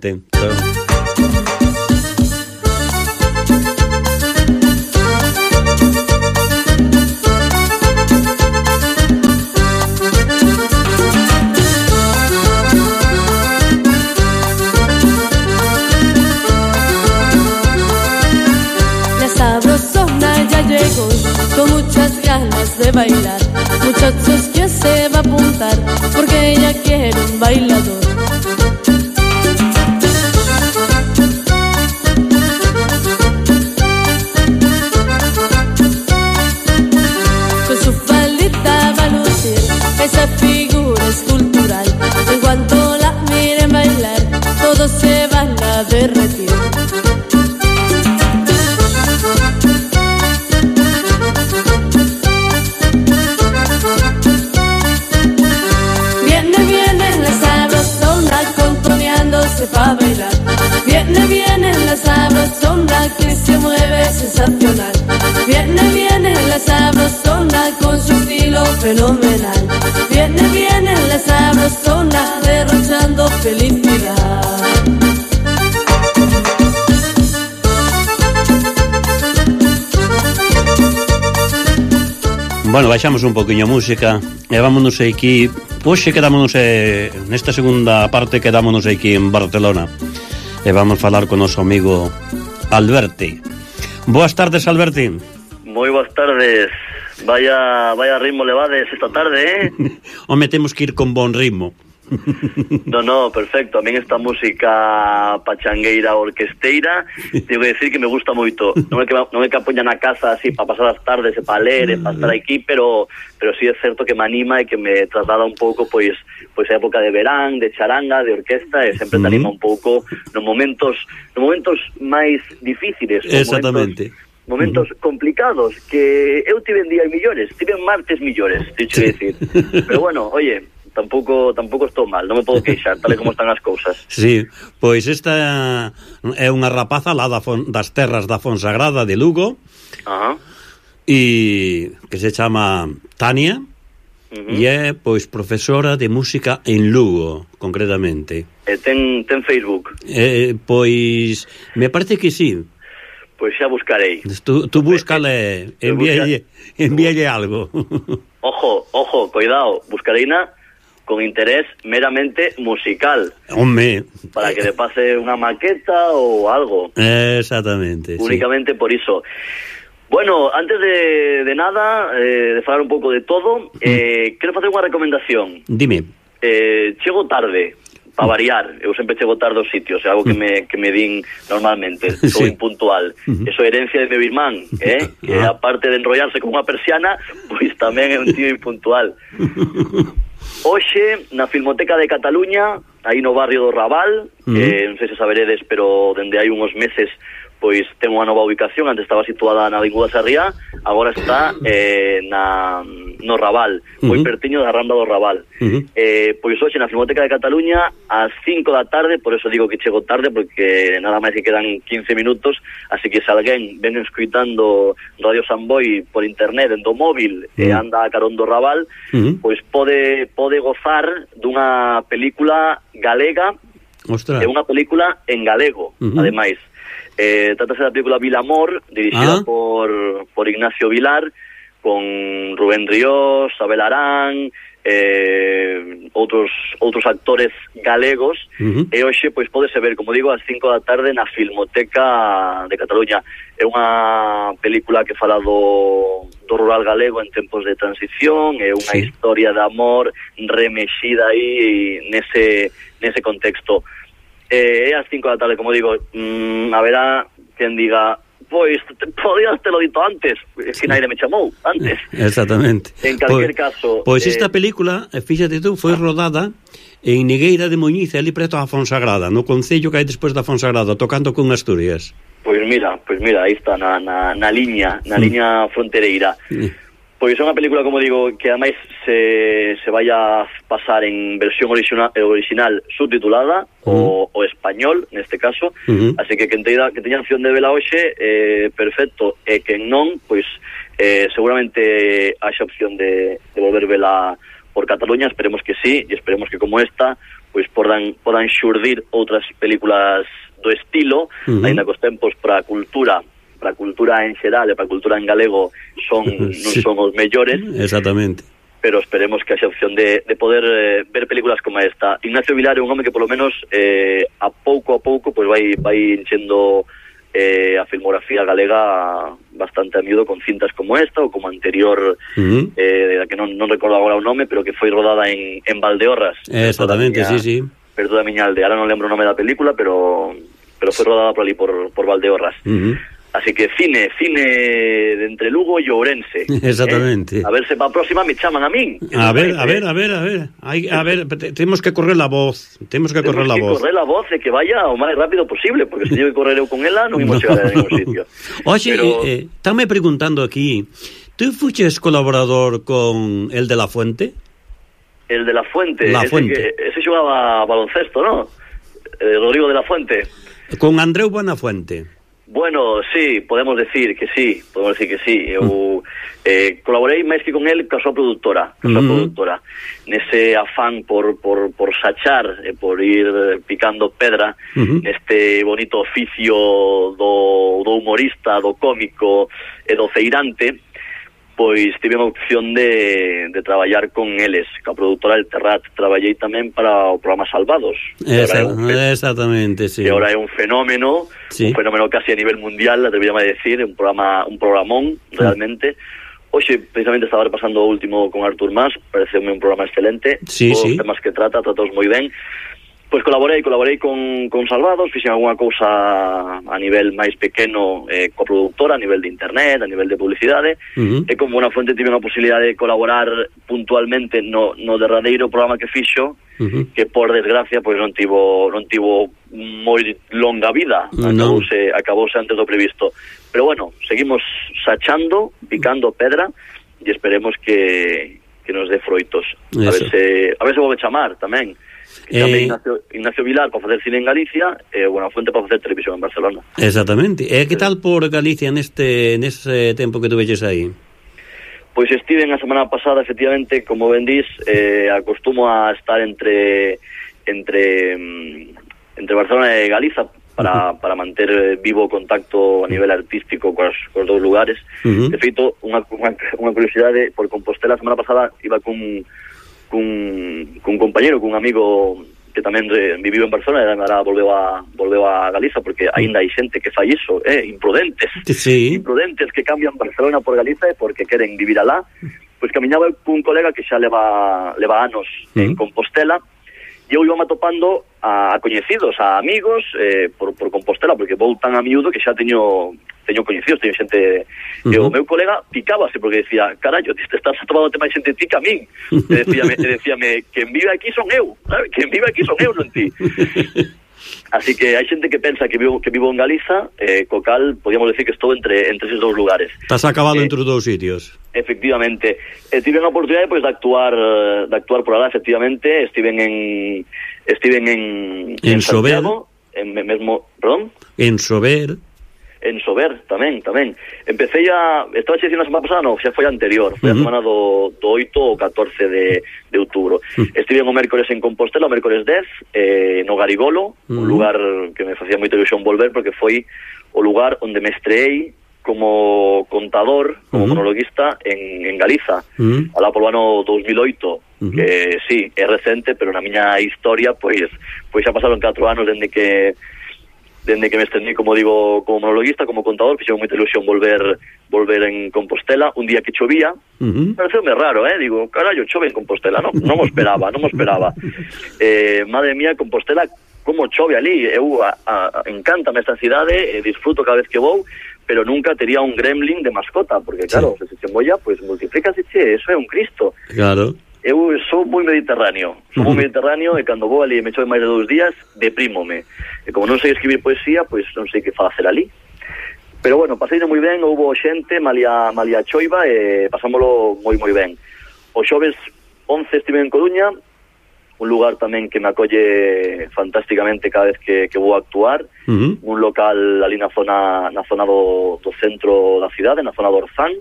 Exactamente. Con muchas ganas de bailar, muchachos, que se va a apuntar porque ella quiere un bailador. Con su faldita va a lucir, esa figura escultural. En cuanto la miren bailar, todos se van a derretir. Pa' bailar. Viene la sabrosona que se mueve sensacional. Viene la sabrosona con su estilo fenomenal. Viene la sabrosona derrochando felicidad. Bueno, baixamos un poquinho a música e vámonos aquí. Hoxe quedámonos nesta segunda parte, quedámonos aquí en Barcelona e vamos falar con o noso amigo Alberti. Boas tardes, Alberti. Moi boas tardes. Vaya ritmo levades esta tarde, Home, temos que ir con bon ritmo. No, perfecto. A min esta música pachangueira orquesteira, tengo que decir que me gusta moito. Non é que a poña na casa así para pasar as tardes e para ler e para estar aquí, pero sí é certo que me anima e que me traslada un pouco pois a época de verán, de charanga, de orquesta, e sempre te anima un pouco nos momentos máis difíciles. Exactamente. Momentos complicados, que eu tive en días millores, tive en martes millores, dicho decir. Pero bueno, oye, tampouco estou mal, non me podo queixar, tal e como están as cousas. Sí, pois esta é unha rapaza lá das terras da Fonsagrada de Lugo. Ajá. E que se chama Tania. E é, pois, profesora de música en Lugo, concretamente. Ten Facebook? Pois, me parece que sí. Pois xa buscarei. Tú búscale, envíalle algo. Ojo, cuidado, buscareina con interés meramente musical. Home. Para que le pase unha maqueta ou algo. Exactamente. Únicamente sí. Por iso. Bueno, antes de nada, de falar un pouco de todo, quero facer unha recomendación. Dime. Chego tarde, para variar. Eu sempre chego tarde aos sitios, é algo que me din normalmente. Sou impuntual. Eso é herencia de meu irmán, que aparte de enrollarse con unha persiana, pois tamén é un tío impuntual. Hoxe, na Filmoteca de Cataluña, aí no barrio do Raval, non sei se saberedes, pero dende hai uns meses pois ten unha nova ubicación. Antes estaba situada na Avinguda Sarriá, agora está no Raval, moi pertiño da Randa do Raval. Pois hoxe na Filmoteca de Cataluña ás 5 da tarde, por eso digo que chego tarde, porque nada máis que quedan 15 minutos, así que se alguén ven escuitando Radio Samboy por internet, en do móvil, e anda a carón do Raval, pois pode gozar dunha película galega. Ostras. É unha película en galego, ademais. Trátase da película Vilamor, dirixida por Ignacio Vilar, con Rubén Ríos, Abel Arán, outros actores galegos, e hoxe pois pódese ver, como digo, ás 5 da tarde na Filmoteca de Cataluña. É unha película que fala do rural galego en tempos de transición, é unha historia de amor remexida aí nese contexto. É ás 5 da tarde, como digo, haberá quen diga, pois, podías telo dito antes, que naide me chamou antes. Exactamente. En calquer caso... Pois esta película, fíxate tú, foi rodada en Nigueira de Moñiz, ali preto a Fonsagrada, no concello que hai despois da Fonsagrada, tocando con Asturias. Pois mira, aí está, na liña frontereira. Pois é unha película, como digo, que ademais se vai a pasar en versión original subtitulada, o español, neste caso, así que quen teña opción de vela hoxe, perfecto, e quen non, pois seguramente haxa opción de volver vela por Cataluña, esperemos que sí, e esperemos que como esta, pois podan xurdir outras películas do estilo, aínda que os tempos para a cultura en xeral e para a cultura en galego non son os mellores. Exactamente. Pero esperemos que haxa opción de poder ver películas como esta. Ignacio Vilar é un home que polo menos a pouco pois vai enchendo a filmografía galega bastante a miúdo con cintas como esta ou como anterior, que non recordo agora o nome, pero que foi rodada en Valdeorras. Exactamente, sí. Perto da miña aldea, ahora non lembro o nome da película, pero foi rodada por ali, por Valdeorras. Así que cine de entre Lugo e Ourense. Exactamente. A ver se para a próxima me chaman a min. A ver. Temos que correr la voz. Temos que correr la voz e que vaya o máis rápido posible, porque se yo que correr eu con ela non imos chegar a ningún sitio. Oxe, estánme preguntando aquí, tú fuches colaborador con el de La Fuente? El de La Fuente. Ese xogaba baloncesto, ¿no? Rodrigo de La Fuente. Con Andreu Buenafuente. Bueno, sí, podemos decir que sí. Eu colaborei máis que con el ca súa produtora, nese afán por sachar e por ir picando pedra neste bonito oficio do humorista, do cómico e do feirante. Pois tive a opción de traballar con eles, ca produtora El Terrat. Traballei tamén para o programa Salvados. Exactamente, sí. E ahora é un fenómeno, un fenómeno casi a nivel mundial, deberíamos decir, un programón, realmente. Hoxe, precisamente, estaba repasando o último con Artur Mas, pareceume un programa excelente. Os temas que tratados moi ben. Pois colaborei con Salvados, fixen alguna cousa a nivel máis pequeno coa produtora, a nivel de internet, a nivel de publicidade, e con Buenafuente tive unha posibilidade de colaborar puntualmente no derradeiro programa que fixo, que por desgracia pois non tivo moi longa vida, acabouse antes do previsto. Pero bueno, seguimos sachando, picando pedra, e esperemos que nos dé froitos. A ver se volve chamar tamén. Ignacio Vilar para facer cine en Galicia e Buenafuente para facer televisión en Barcelona. Exactamente. E que tal por Galicia nese tempo que tuveches aí? Pois estive a semana pasada, efectivamente, como ben dís, acostumo a estar entre Barcelona e Galiza para manter vivo o contacto a nivel artístico cos dous lugares. De feito, unha curiosidade, por Compostela a semana pasada iba cun compañero, cun amigo que tamén viviu en Barcelona e agora volveu a Galiza, porque aínda hai xente que fai iso, imprudentes que cambian Barcelona por Galiza e porque queren vivir alá. Pois camiñaba cun colega que xa leva anos en Compostela, e eu iba atopando a coñecidos, a amigos por Compostela, porque vou tan a miúdo que xa teño coñecidos, teño xente. E o meu colega picábase porque decía, carallo, te estás atopando máis xente ti que a min. E decíame, quen vive aquí son eu, ¿sabes? Quen vive aquí son eu, non ti. Así que hai xente que pensa que vivo en Galiza, co cal podíamos decir que estou entre esos dous lugares. Estás acabado entre os dous sitios. Efectivamente. Tive a oportunidade de actuar por alá, efectivamente. Estiven en Santiago, en Sober, tamén. Empecé estaba dicindo a semana pasada, non, xa foi anterior, foi a semana do 8 ou 14 de outubro. Estive o mércores en Compostela, o mércores 10, no Garigolo, un lugar que me facía moita ilusión volver, porque foi o lugar onde me estreei como contador, como monologuista en Galiza, alá polo ano 2008, que sí, é recente, pero na miña historia, pois xa pasaron 4 anos dende que me estendí, como digo, como monologuista, como contador. Fixeu moita ilusión volver en Compostela, un día que chovía. Pareceume raro, digo, carallo, chove en Compostela, non mo esperaba. Madre mía, Compostela, como chove ali. Eu encántame esta cidade, disfruto cada vez que vou, pero nunca tería un gremlin de mascota, porque claro, se molla, pues multiplícase, eso é un Cristo. Claro. Eu sou moi mediterráneo, e cando vou ali e me chove máis de 2 días, deprímome. E como non sei escribir poesía, pois non sei que facer ali. Pero bueno, paseino moi ben, houbo xente, malia choiva, e pasámolo moi ben. O xoves 11 estive en Coruña, un lugar tamén que me acolle fantásticamente cada vez que vou a actuar, un local ali na zona do centro da cidade, na zona do Orzán,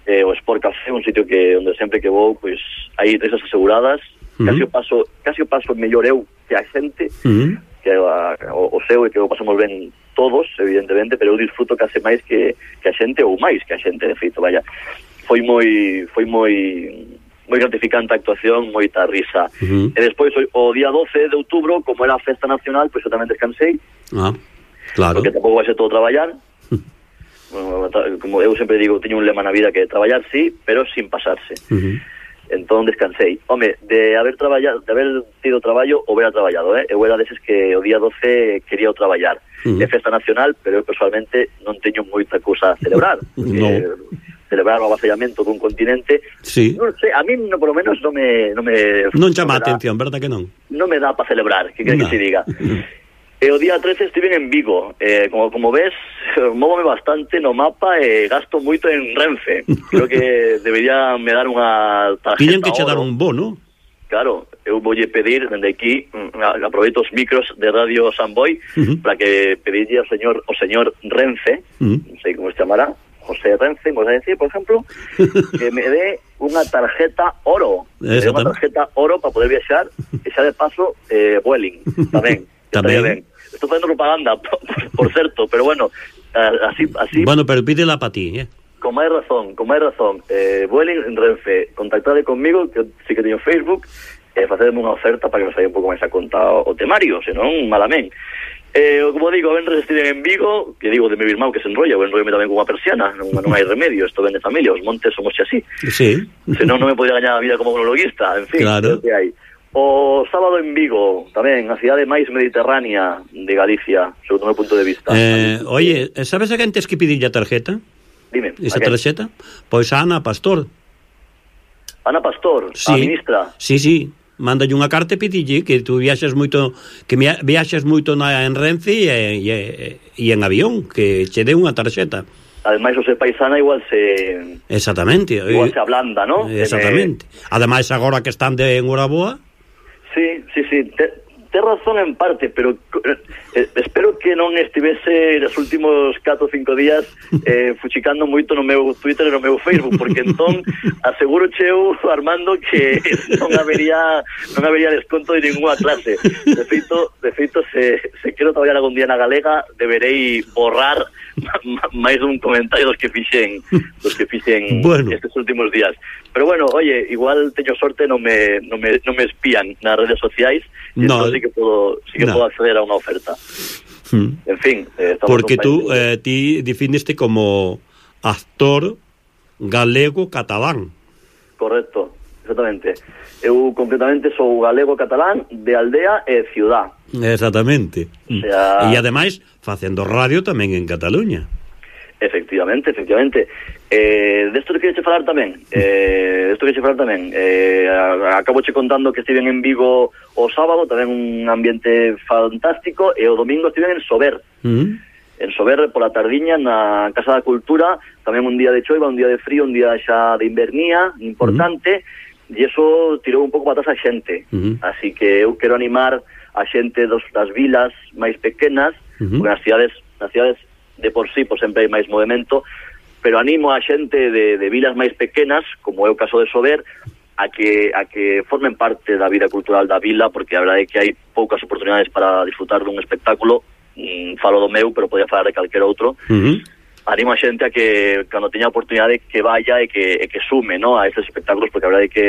o Sport Café, un sitio onde sempre que vou, pois hai risas aseguradas, casi o paso mellor eu que a xente, que o seu e que o pasamos ben todos, evidentemente, pero eu disfruto case máis que a xente, ou máis que a xente, de feito, vaya. Foi moi gratificante a actuación, moita risa. E despois, o día 12 de outubro, como era a festa nacional, pois eu tamén descansei. Claro. Porque tampouco vai ser todo traballar. Como eu sempre digo, teño un lema na vida que é traballar sí, pero sin pasarse. Entón descansei. Home, de haber tido traballo, ou haber traballado, eu era deses que o día 12 quería traballar. É festa nacional, pero eu personalmente non teño moita cousa a celebrar. Celebrar o avasallamento dun continente, non sei, a mí por lo menos non chama a atención, verdad que non? Non me dá para celebrar, que quere que se diga. E o día 13 estive en Vigo. Como ves, móvome bastante no mapa e gasto moito en Renfe. Creo que debería me dar unha tarjeta. Tiñen que che dar un bono. Claro, eu voulle pedir dende aquí, aproveito os micros de Radio Samboy para que pedirlle ao señor Renfe, non sei como se chamará, José Renfe, vamos a decir, por ejemplo, que me dé unha tarjeta oro. Unha tarjeta oro para poder viaxar e xa de paso Vueling tamén. Tamén. Estou facendo propaganda, por certo, pero bueno, así... Bueno, pero pídela para ti, Como hai razón. Vueling en Renfe, contactade conmigo, que sí que teño Facebook, facedeme unha oferta para que me saia un pouco máis a conta o temario, senón malamén. Como digo, ben estive en Vigo, que digo de meu irmão que se enrolla, eu enrollame tamén con unha persiana, non hai remedio, isto ven de familia, os montes somos así. Sí. Senón non me podía gañar a vida como monologuista, en fin, claro. Que hai. O sábado en Vigo, tamén, a cidade máis mediterránea de Galicia, segundo o meu punto de vista. Oye, sabes a quen tes que pedirlle a tarjeta? Dime. Esa tarxeta? Pois a Ana Pastor. Ana Pastor, a ministra? Sí. Mándalle unha carta e pedille que tú viaxes moito, en Renfe e en avión, que che dé unha tarxeta. Ademais, o ser paisana igual se... Exactamente. Igual se ablanda, ¿no? Exactamente. Ademais, agora que están de enhoraboa... Sí. Ten razón en parte, pero espero que non estivese nos últimos 4 ou 5 días fuchicando moito no meu Twitter e no meu Facebook, porque entón aseguro cheu, Armando, que non habería desconto de ninguna clase. De feito, se quero traballar algún día na galega, deberei borrar máis dun comentario dos que fixen estes últimos días. Pero bueno, oye, igual teño sorte, non me espían nas redes sociais, e entón sí que puedo acceder a unha oferta. En fin, porque tú ti definiste como actor galego-catalán. Correcto, exactamente. Eu concretamente sou galego-catalán de aldea e ciudad. Exactamente. O sea... E ademais facendo radio tamén en Cataluña. Efectivamente. Desto que quereche falar tamén. Acabo che contando que estiven en Vigo o sábado, tamén un ambiente fantástico, e o domingo estiven en Sober. En Sober, pola tardiña, na Casa da Cultura, tamén un día de choiva, un día de frío, un día xa de invernía, importante, e iso tirou un pouco para atrás a xente. Así que eu quero animar a xente das vilas máis pequenas, porque nas cidades de por sí, pues sempre hai máis movimento, pero animo a xente de vilas máis pequenas, como é o caso de Sober, a que formen parte da vida cultural da vila, porque a verdade é que hai poucas oportunidades para disfrutar dun espectáculo. Falo do meu, pero podía falar de calquer outro. Animo a xente a que, cando teña oportunidade, que vaya e que sume, ¿no?, a estes espectáculos, porque a verdade é que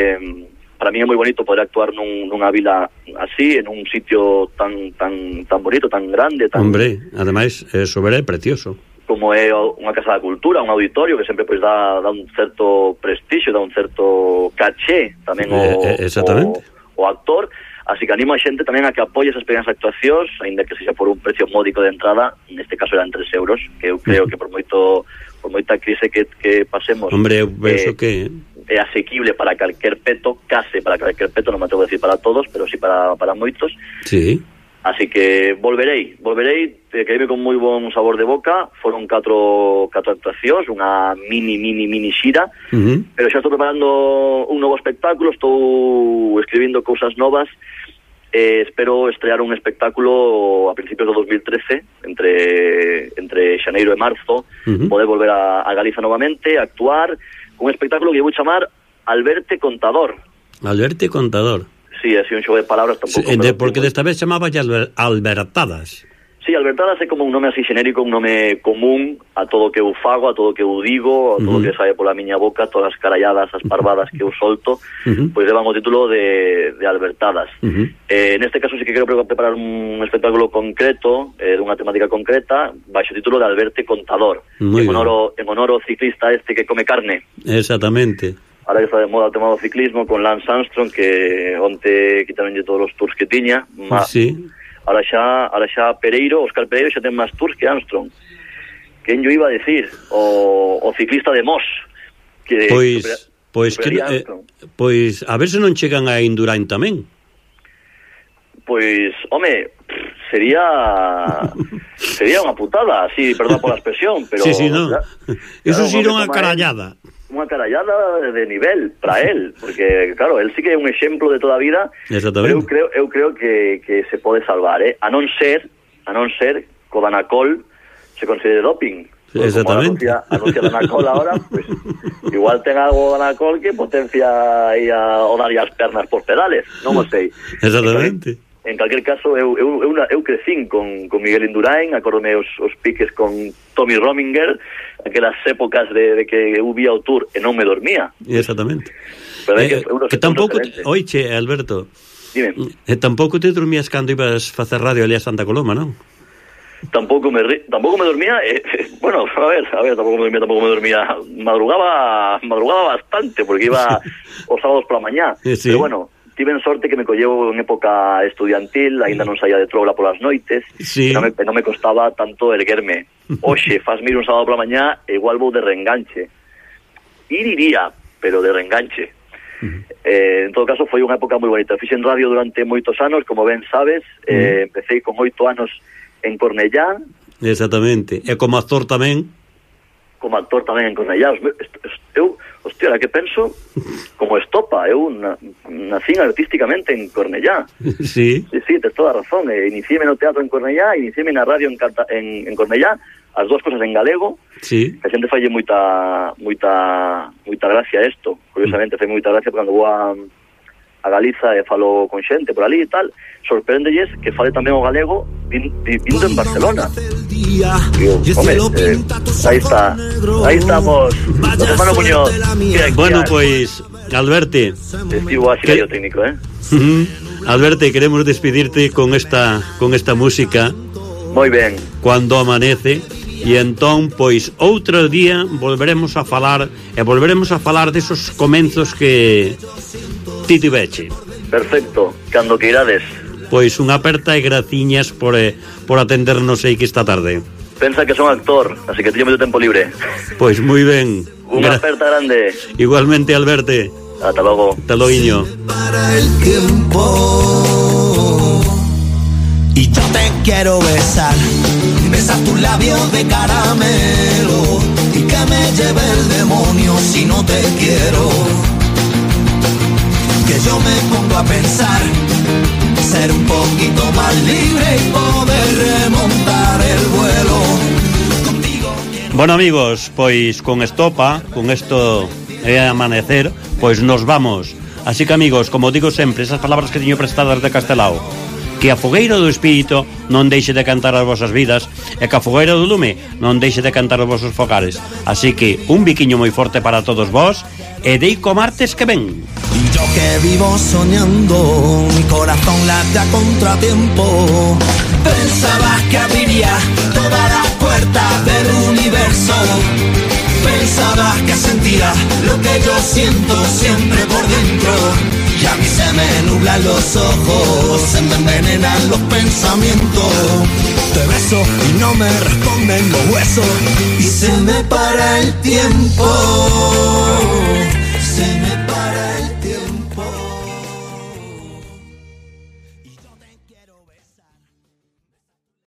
para mí é moi bonito poder actuar nunha vila así, en un sitio tan bonito, tan grande, Hombre, ademais, Sober é precioso. Como é unha casa da cultura, un auditorio que sempre pois dá un certo prestixio, dá un certo caché tamén o actor. Así que animo a xente tamén a que apoie esas pequenas actuacións, aínda que sexa por un precio módico de entrada, neste caso eran 3 euros, que eu creo que por moita crise que pasemos, hombre, eu penso que é asequible para calquer peto, non me atrevo a decir para todos, pero sí para moitos. Sí. Así que volverei, queime con moi bon sabor de boca. Foron 4 actuacións, unha mini xira, pero xa estou preparando un novo espectáculo, estou escribindo cousas novas. Espero estrear un espectáculo a principios do 2013, entre xaneiro e marzo, poder volver a Galiza novamente, actuar un espectáculo que vou chamar Alberte Contador. Alberte Contador. Sí, así un xogo de palabras tampouco. Porque desta vez chamaba Albertadas. Sí, Albertadas é como un nome así genérico, un nome común a todo o que eu fago, a todo o que eu digo, a todo o que sae pola miña boca, todas as caralladas, as parvadas que eu solto, pois levan o título de Albertadas. Neste caso sí que quero preparar un espectáculo concreto, dunha temática concreta, baixo o título de Alberte Contador, en honor ao ciclista este que come carne. Exactamente. Ahora que está de moda o tema do ciclismo con Lance Armstrong, que onte quitaronlle todos os tours que tiña. Sí. Ahora xa Oscar Pereiro xa ten máis tours que Armstrong. Quen yo iba a decir? O ciclista de Mos, que pois a ver se non chegan a Indurain tamén. Pois, home, sería unha putada, así, perdón pola expresión, pero sí, no. Eso sí era unha carallada. Unha carallada de nivel para él, porque claro, él sí que é un exemplo de toda a vida. Pero eu creo que se pode salvar, a non ser que o Danacol se considere doping. Exactamente. Anuncia Danacol ahora, pues igual ten algo Danacol que potencia aí o dar as pernas por pedales, non o sei. Exactamente. En calquer caso, eu crecín con Miguel Indurain, acordome os piques con Tommy Rominger, aquelas épocas de que eu vía o tour e non me dormía. Exactamente. Pero que tampouco, oiche, Alberto, dime. Tampouco te dormías cando ibas facer radio ali a Santa Coloma, non? Tampouco me dormía, bueno, a ver, tampouco me dormía, madrugaba bastante, porque iba os sábados pola mañá, sí. Pero bueno, tiven sorte que me colleu en época estudiantil, aínda non saía de troula polas noites, sí. non me costaba tanto erguerme. Oxe, fasme ir un sábado pola mañá, igual vou de reenganche. Iría, pero de reenganche. En todo caso, foi unha época moi bonita. Fixen radio durante moitos anos, como ben sabes, empecé con 8 anos en Cornellá. Exactamente. E como actor tamén? Como actor tamén en Cornellá. Eu, hostia, que penso como Estopa, eu nacín artísticamente en Cornellá. Sí. Sí, tens toda a razón. Iniciéme no teatro en Cornellá, iniciéme na radio en Cornellá, as dúas cosas en galego. Sí. A xente falle moita gracia isto. Curiosamente, fai moita gracia cando vou a Galiza e falo con xente por ali e tal, sorpréndelles que fale tamén o galego vindo en Barcelona. Digo, home, aí estamos José Manuel Muñoz. Bueno, pois, Alberte, estivo así o técnico, Alberte, queremos despedirte con esta música. Moi ben. Cuando amanece. E entón, pois, outro día volveremos a falar desos comenzos que ti tiveche. Perfecto, cando que irades. Pois unha aperta e graciñas por atendernos aí que esta tarde. Pensa que son actor, así que teño moito tempo libre. Pois moi ben. Unha aperta grande. Igualmente, Alberte. Ata logo. Ata loguiño. Para el tiempo y yo te quiero besar. Besar tus labios de caramelo y que me lleve el demonio si no te quiero. Que yo me pongo a pensar ser un poquito más libre y poder remontar el vuelo contigo. Bueno, amigos, pois con Estopa, con esto é amanecer, pois nos vamos. Así que, amigos, como digo sempre, esas palabras que teño prestadas de Castelao, que a fogueira do espírito non deixe de cantar as vosas vidas e que a fogueira do lume non deixe de cantar os vosos fogares. Así que un biquiño moi forte para todos vos e deico martes que ven. Yo que vivo soñando, mi corazón late a contratiempo. Pensabas que abriría todas las puertas del universo. Pensabas que sentía lo que yo siento siempre por dentro. Y a mí se me nublan los ojos, se me envenenan los pensamientos. Te beso y no me responden los huesos y se me para el tiempo.